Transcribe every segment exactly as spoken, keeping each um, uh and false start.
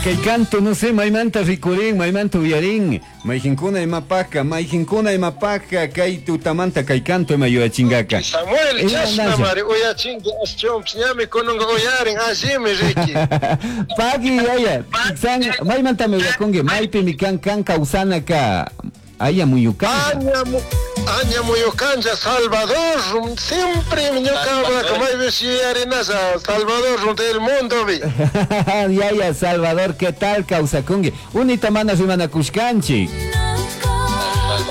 Kay canto, no sé, maymanta rikurin, maymanta uyarin, mayqinkuna imapaka, mayqinkuna imapaka, kay tutamanta kay canto ima yuyachingaka. Samuel, chashna mari uyachinki ashchumpish ñami kununka uyarin allimi riki. Pagui yaya, san maymantami uyakunki, maypimi kan kan kawsanaka aya muyukanja. Aña, aña muyukanja Salvador, siempre ñuka maypish yuyarinasha Salvador del mundo vi. Yaya Salvador, ¿qué tal kawsakunki? Unita mana rimanakushkanchik.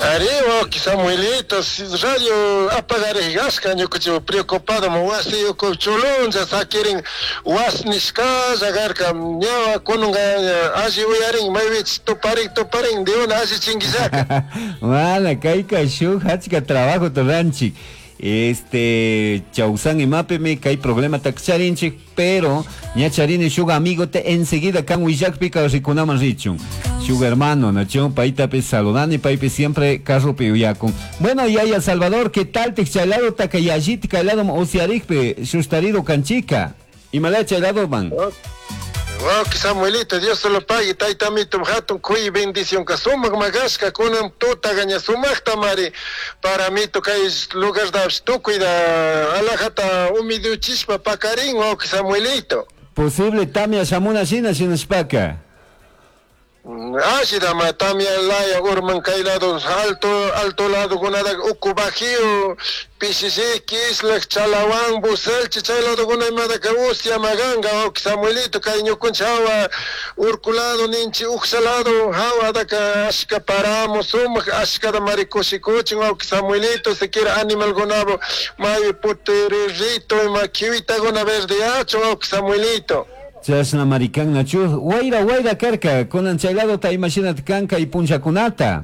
Arriba, Samuelito, radio apagarishka ñukanchik preocupado wasi uku chulunlla sakirin was nishkalla karka ñawa kununka alli uyarin maypich tuparin tuparin de una alli chinguillaka. Mana kayka shuk achka trabajo ruranchik. Este chawsan imapimi kay problema charinchik, pero ña charini shuk amigo te enseguida kan willakpika rikunaman richun. Shuk hermano, nacho, paytapi saludani, paypi siempre carropi uyakun. Bueno, yaya Salvador, ¿qué tal te chaylado takayallit kaylado usiarikpi shustarido kanchika? Imala chaylado man. Wow, Samuelito, Dios se lo pague, taytamito, hatun kuy bendición ka sumaq magashka kunan tuta gaña sumaqta mari para mito kay lugar da tukuy da alajata humiduchishpa pakarin, wow, Samuelito. Posible tamia shamuna shina shinashpaka. Ashida ma tamia laya urman kay lado alto alto lado kunada uku bajío Pichichi, Islak, Chalawan, Buselchi, chay lado kunamada ka usya maganga, ok Samuelito kay ñukuncha hawa urkulado ninchi uxalado hawa daka ashka paramo sumaq ashkada mari kushikuchin ok Samuelito siquiera animal gunabo may putirito ima kiwitaguna verdeacho ok Samuelito. Chashna marikan nachu wayra wayra karka kunan chay lado ta imashinat kanka y punchakunata.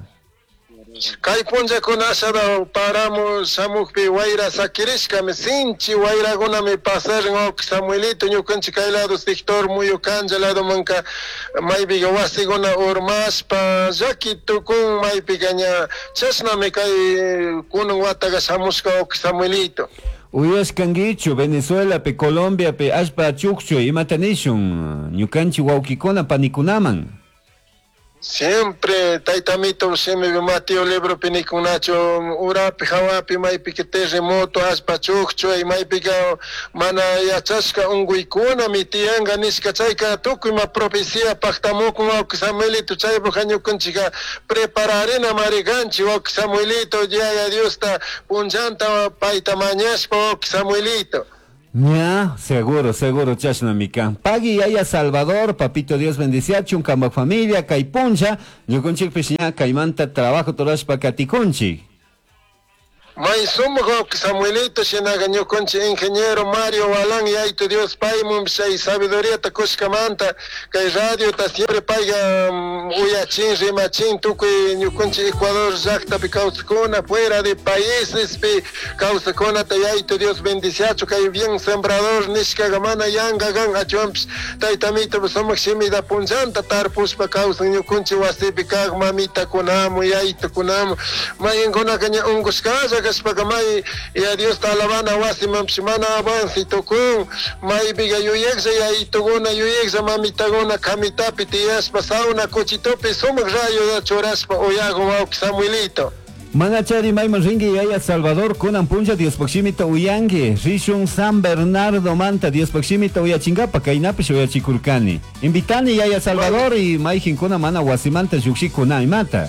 Kay punchakuna ashada paramo shamukpi wayra sakirishkami sinchi wayrakunami pasarin ok Samuelito ñukanchik kay lado sector muyukanja lado manka maypiqa wasikuna urmashpa llaki tukun maypiqa ña chashnami kay kunan wataqa shamushka ok Samuelito. Uyashkankichu Venezuela pe Colombia pe allpa chukchu imata nishun ñukanchik wawkikuna panikunaman. Siempre taytamito shimi Mateo libro pinikunacho urapi hawapi maypika terremoto allpa chukchu maypika mana yachashka unquykunami tiyanka nishka chayka tukuy ma profecía paktamukun wawqi Samuelito chaypuk ñukanchikka prepararina marikanchik wawqi Samuelito Yaya Diosta punllanta payta mañashpa wawqi Samuelito. Ya, seguro, seguro, chashnami kan. Pagui yaya Salvador, papito Dios bendiciachun, kambak familia, kay puncha, ñukunchikpish ña kaymanta trabajo torashpa katikunchik. May sumaq Samuelito shinaqa ñukanchik ingeniero Mario Walán yaytu Dios paymun chay sabiduría kushkamanta kay radiota siempre payqa uyachin rimachin tukuy ñukanchik Ecuador llaqtapi kawsakuna fuera de paísespi kawsakunata yaytu Dios bendiciachu kay bien sembrador nishkaqa mana yanqa kan achwanpish taytamito sumaq shimita punllanta tarpushpa kawsan ñukanchik wasipi kaq mamitakunamu yaytukunamu mayinkunaka ña unqushkalla kashpaka may ya Dios ta alabana wasimanpish mana avance tukun maypiqa yuyaqlla yaytuguna yuyaqlla mamitaguna kamitapi tiyashpa sauna kuchitupi sumaq rayo churashpa uyakun wawqi Samuelito. Manachari mayman rinki yaya Salvador kunan puncha Diospaq shimita uyanki rishun San Bernardo manta Diospaq shimita uyachingapa kaynapish uyachikurkani. Invitani yaya Salvador y mayqinkuna mana wasimanta lluqshikuna imata.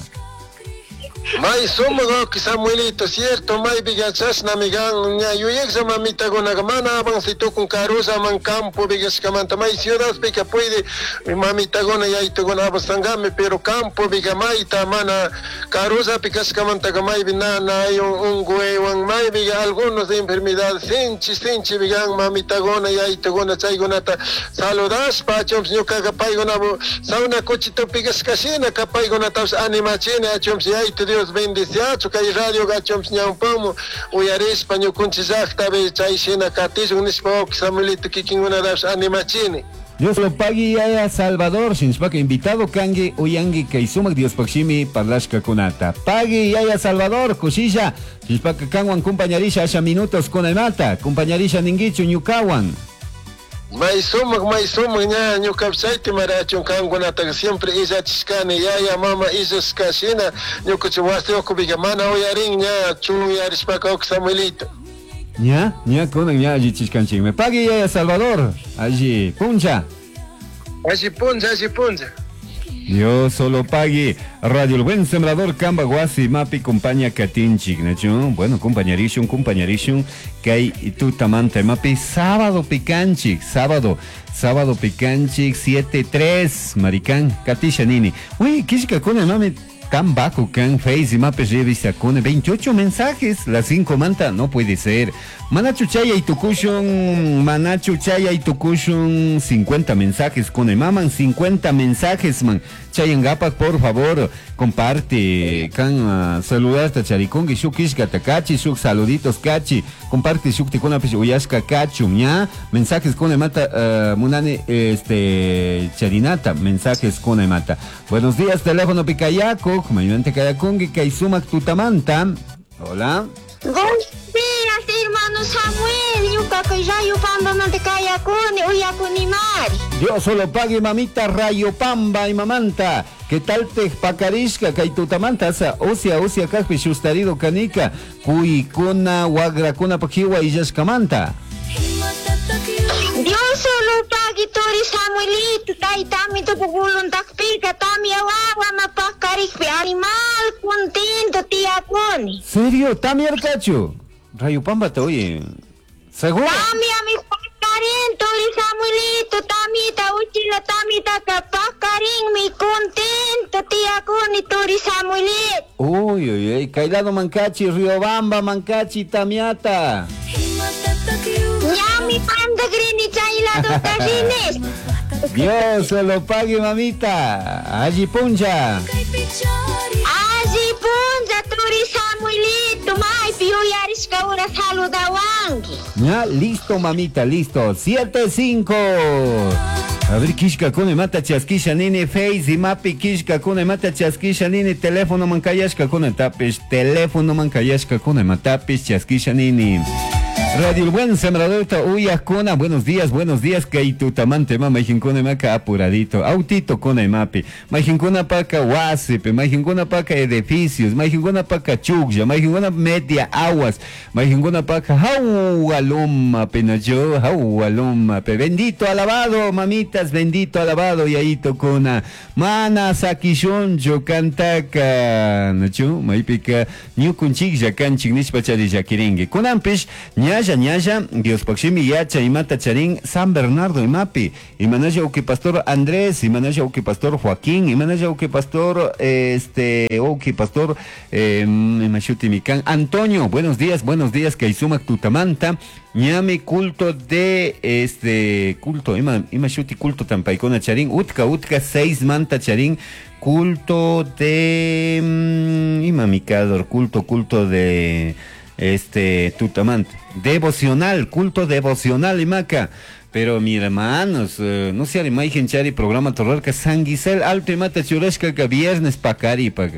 May sumaq Samuelito, cierto, maypiqa chashnami kan ña yuyaqlla mamitakunaqa mana avance tukun karullaman campo piqashkamanta may ciudadpika puede mamitakuna yaytukuna avanzangami pero campopiqa mayta mana karullapi kashkamantaka maypi nanay unquywan maypiqa algunos enfermedades sinchi sinchi kan mamitakuna yaytukuna chaykunata saludashpa achunpish ñukaqa paykunapu sauna kuchitupi kashkashina paykunatapish animachini achunpish yaytu Dios bendiciachu kay radio gachumpish ñawpamu uyarishpa ñukunchik llaqtapi chay shina katishun nishpa wawqi Samuelito kikinkunatapish animachini. Dios lo pagui yaya Salvador, shinshpaka invitado kanki uyanki kay sumaq Diospaq shimi parlashkakunata. Pagui yaya Salvador, kushilla, shinshpaka kanwan kumpañarisha asha minutos kunaymata, kumpañarisha ninkichu ñukawan. May sumaq, may sumaq ña ñuka chayta marachun kankunataqa siempre illachishkani yaya mama illashka shina ñukachi wasi ukupika mana uyarin ña chunyarishpaka uka Samuelito. Ña, ña kunan ña allichishkanchikmi. Pagui yaya Salvador, alli puncha. Alli puncha, alli puncha. Dios solo pagui. Radio El Buen Sembrador Kamba Guasi Mapi compañía Katinchik, ¿no? Bueno, compañerishun, compañerishun, kay tutamanta mapi sábado picanchik, sábado, sábado picanchik, siete tres, maricán, Katisha nini. Uy, kishka kuna mami tan bajo kan Face y mapi revista con veintiocho mensajes, las cinco manta, no puede ser. Manachu chaya y tukushun, manachu chaya y tukushun, cincuenta mensajes con el maman, cincuenta mensajes, man. Chayangapak, por favor, comparte, kan uh, saludasta charikungi, shuk ishka takachi, shuk saluditos kachi, comparte shuk tikuna pish uyashka kachum, ña, mensajes con el mata, uh, munani, este, charinata, mensajes con el mata. Buenos días, teléfono picayaco, mayuante kayakungi, kaisumak tutamanta. Hola. Buenos días, hermano Samuel. Ñuka kay Rayo Pamba manta kayakuni, uyakuni mari. Dios solo pague, mamita Rayo Pamba y mamanta. ¿Qué tal te pacarishka kay tutamanta asa osia osia kajpi shustarido kanika kuikuna wagrakuna pajiwa illashkamanta? Dios solo pague turi Samuelito, taytami tukukuluntakpika tamia wawa mapakarikpi animal contento tiyakuni. ¿Serio? ¿Tamiarcachu? Rayo Pamba te oye. ¿Seguro? Tamia mi pakarin turi Samuelito, tamita uchila tamita kapakarin mi contento tiyakuni turi Samuelito. Uy, uy, uy, Kailado Mancachi, Riobamba Mancachi, Tamiata. Ñami pandagrini chaylado tarines. Dios se lo pague, mamita. Allí puncha. Allí puncha, turi Samuelito, maypi yuyarishka ura saludawanki. Ya, listo, mamita, listo. Siete, cinco. A ver, kishka kune mata chaskisha nini, Face y mapi kishka kune mata chaskisha nini, teléfono mankayashka kune tapish, teléfono mankayashka kune matapish chaskisha nini. Radio El Buen Sembrador uyakuna, buenos días, buenos días, kaitutamante mama, majinkuna maka apuradito, autito kuna mapi, majinkuna paka wasipe, majinkuna paka edificios, majinkuna paka chuklla, majinkuna media aguas, majinkuna paka jaualoma penayo, jaualoma pe, bendito alabado, mamitas, bendito alabado, yaito kuna, mana sakishoncho kantaka, nachu, maipika, ñukunchiklla kanchik nishpa chari llakiringi, kunanpish, ñalla ñalla, Dios pakshimi yacha imata charin San Bernardo imapi, imanaya uki pastor Andrés, imanaya uki pastor Joaquín, imanaya uki pastor este uki pastor eh, imashuti mikan Antonio, buenos días, buenos días, kaisumak tutamanta, ñami culto de este culto, ima imashuti culto tampaikona charin, utka utka seis manta charin, culto de mm, imamikador, culto culto de este tutamanta, devocional, culto devocional imaca. Pero mi hermanos, eh, no se imagen chari programa torrarca San Gisel alto y mata churashka que viernes pacari pa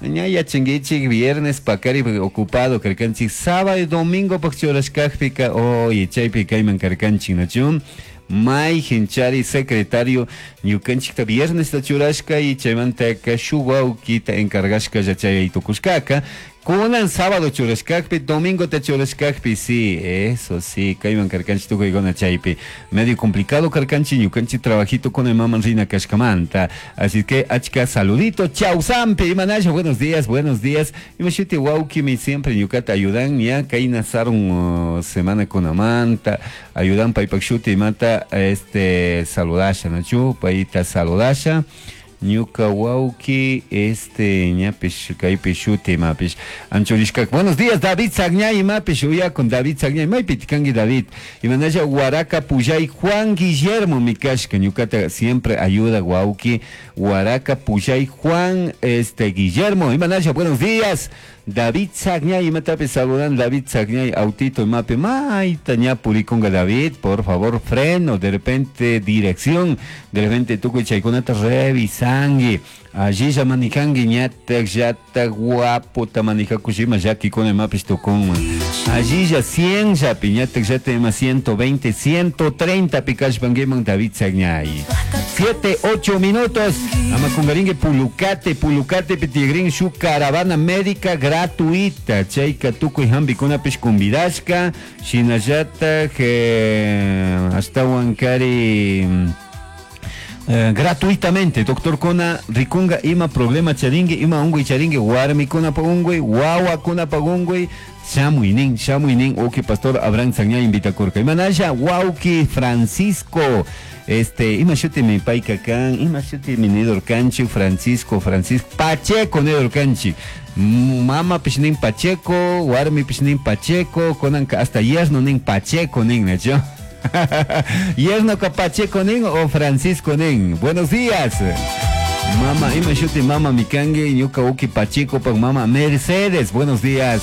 ñaya chinguichi viernes pacari ocupado carcanchi sábado y domingo pak churashkajpika oye chaypi kayman carcanchi nachun may hinchari secretario ñukanchikta viernes ta churashka y chaymantaka shuk wawkita encargashka yachay tukushkaka kunan sábado churashkakpi domingo ta churashkakpi sí, eso sí, kayman karkanchi tukuykuna chaypi medio complicado karkanchi ñukanchi trabajito con el maman rina kashkamanta, así que achka saludito chausampi imanasha, buenos días, buenos días, imashuti wawkimi siempre ñukata ayudan ya kayna sarun uh, semana con amanta ayudan paypak shuti imata este saludasha nachu payta saludasha ñuka wawki este ñapish kaypi shuti imapish anchurishkak. Buenos días David Sagñay imapish uyakun David Sagñay maypi tikanki David imanasha Huaraca Puyay Juan Guillermo mikashka ñukata siempre ayuda wawki Huaraca Puyay Juan este Guillermo imanasha buenos días. David Sagñay imatapi saludan David Sagñay autito imapi maita ña purikunga David, por favor, freno, de repente dirección, de repente tukuy chaykunata revisangi. Allí ya manijangi ñatak llata guapo ta manijakushima llakikuna imapis tukunman. Allí ya cien llapi ñatak llata ima ciento veinte, ciento treinta pikashpanguiman David Sagñay. Siete, ocho minutos. Amakungaringue Pulucate, Pulucate pitigrin su caravana médica gratuita. Chayka tukuy hampikunapish convidashka. Shinallata hasta Huancari. Eh, gratuitamente, doctor Kona, rikunga ima problema charingue, ima ungui charingue, warmi kuna pa ungui, wawa kuna pa ungui, shamuinin, shamuinin, uki pastor Abraham Sagñay invita kurka. Imanasha, wauki Francisco, este, ima shuti mi paika kan, ima shuti mi nidor kanchi, Francisco, Francisco, Pacheco nidor kanchi. Mama pishnin Pacheco, warmi pishnin Pacheco, konanka hasta yerno nin Pacheco nin, ¿no? Yerno Pacheco nin o Francisco nin. Buenos días. Mama, ima shuti mama mikangue, ñuka uki Pacheco pak mama Mercedes. Buenos días.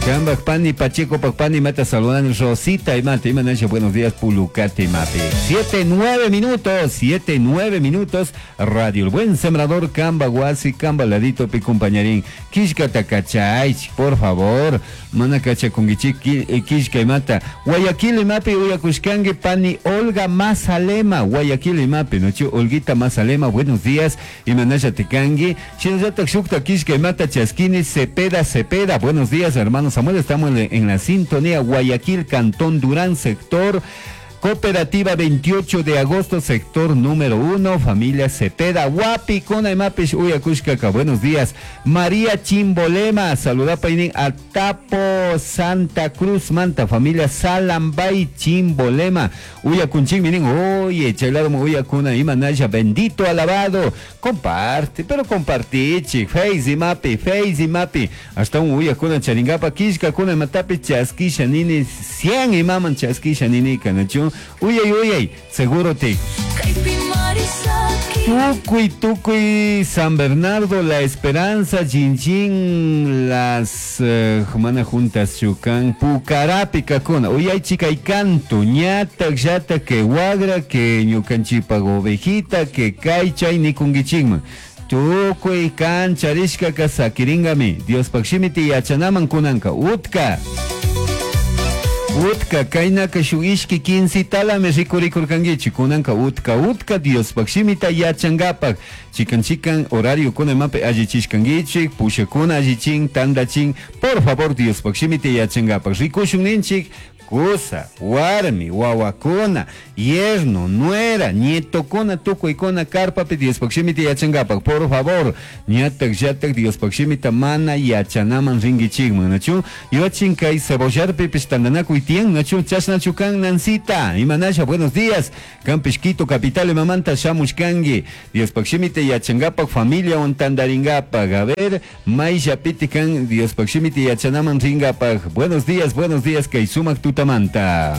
Kambak pani Pacheco pak pani mata saludan Rosita y mate ima nasha, buenos días Pulucate mate. Siete, nueve minutos, siete, nueve minutos. Radio El Buen Sembrador, Kamba Guasi, Kamba Ladito pi compañerín. Kishka takachay, por favor. Mana kacha kungichi kishka y mata. Guayaquil y mapi uyakushkangue pani Olga Mazalema. Guayaquil y mapi, nochu Olguita Mazalema, buenos días. Y manasha tekangue. Shinazata shukta kishka y mata chasquini Cepeda Cepeda. Buenos días, hermanos Samuel, estamos en, en la sintonía Guayaquil, Cantón Durán, sector Cooperativa veintiocho de agosto, sector número uno, familia Cepeda, Guapi, Kona y Mapish, Uyakushkaka. Buenos días. María Chimbolema, saluda Painin, Atapo, Santa Cruz, Manta, familia Salambay, Chimbolema, Uyakunching, minin, oye, chaylado, Uyakuna, Imanaya, bendito, alabado, comparte, pero compartichi, Face y Mapi, Face y Mapi, hasta un Uyakuna, Charingapa, Kishka, Kuna, Matapi, Chaskisha, Nini, cien y maman, Chaskisha, Nini, Kanachu. Uy, uy, uy, seguro te. Tucuy, Tucuy, San Bernardo, La Esperanza, Chinchín, las Jumana eh, Juntas, Chucán, Pucarapi, Cacona. Uy, ay, chica, y canto, ñata, yata, que guagra, que ñucanchipa, ovejita, que caicha y nicunguichigma. Tucuy, cancharishka, casaquiringami, Dios pakshimiti, yachanaman kunanka, utka. Utka, kainaka shuk ishki quince talami rikurikurkankichik, kunanka utka, utka, Diospak shimita yachankapak, chikan chikan horario kuna imapi allichishkankichik, pushakuna allichin, tandachin, por favor Diospak shimita yachankapak, rikushun ninchik, kusa, warmi, wawakuna, yerno, nuera, nietokuna, tukuykuna, karpapi Diospak shimita yachankapak, por favor, ñatak llatak Diospak shimita mana yachanaman rinkichikman, nachu, yuachin kay cebollarpipis tandanakuy tiyan, nachu, chashnachu kan Nancita, imanasha, buenos días, Campish Quito, capital imamanta shamushkanki, Diospak shimita yachankapak, familiawan tandarinkapak, a ver, mayllapiti kan Diospak shimita yachanaman rinkapak, buenos días, buenos días, kay sumak tutamanta.